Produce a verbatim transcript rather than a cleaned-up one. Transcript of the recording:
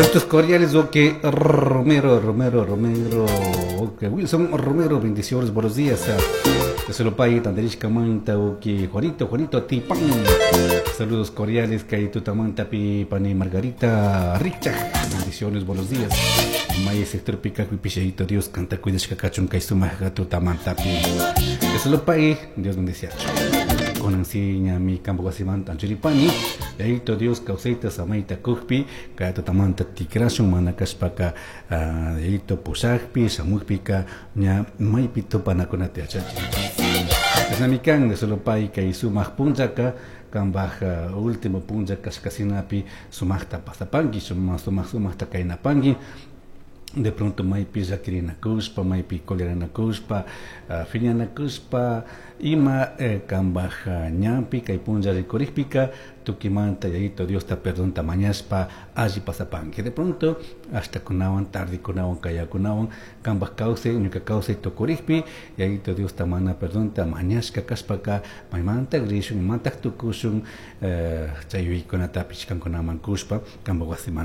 Saludos cordiales, ok, Romero, Romero, Romero, ok, Wilson Romero, bendiciones, buenos días. Solo Tanderishka Manta, ok, Juanito, Juanito, Tipán. Saludos cordiales, Kaitutamanta, Pani Margarita, Richard, bendiciones, buenos días. May sector pica, pichadito, Dios canta, cuidashka kachun, kaisuma, tutamantapi. Solo Dios bendice. Kunan ñami kampak wasimanta anchuripani Yayito Dios kawsayta samayta kukpi kay tutamanta tikrashun mana kashpaka Yayito pushakpi shamukpika ña maypi tupanakunata yachachin Chashnami kan solo pay kay sumak punllaka kanpaj último punlla kashkasinapi sumakta pasapanki sumak sumak sumakta kaynapanki de pronto maypi llakirinakushpa maypi coleranakushpa uh, phiñanakushpa ima eh, kanpaj ñanpi kay punlla rikurikpika tukimanta Yayito Diosta perdonta mañashpa alli pasapanki de pronto hasta kunawan tardekunawan kayakunawan kanpaj kawsay ñuka kawsay tukurikpi Yayito Diosta mana perdonta mañashka kashpaka maymanta rishun imantak tukushun eh, chay yuyaykunatapish kankunaman kushpa kanpaj wasiman.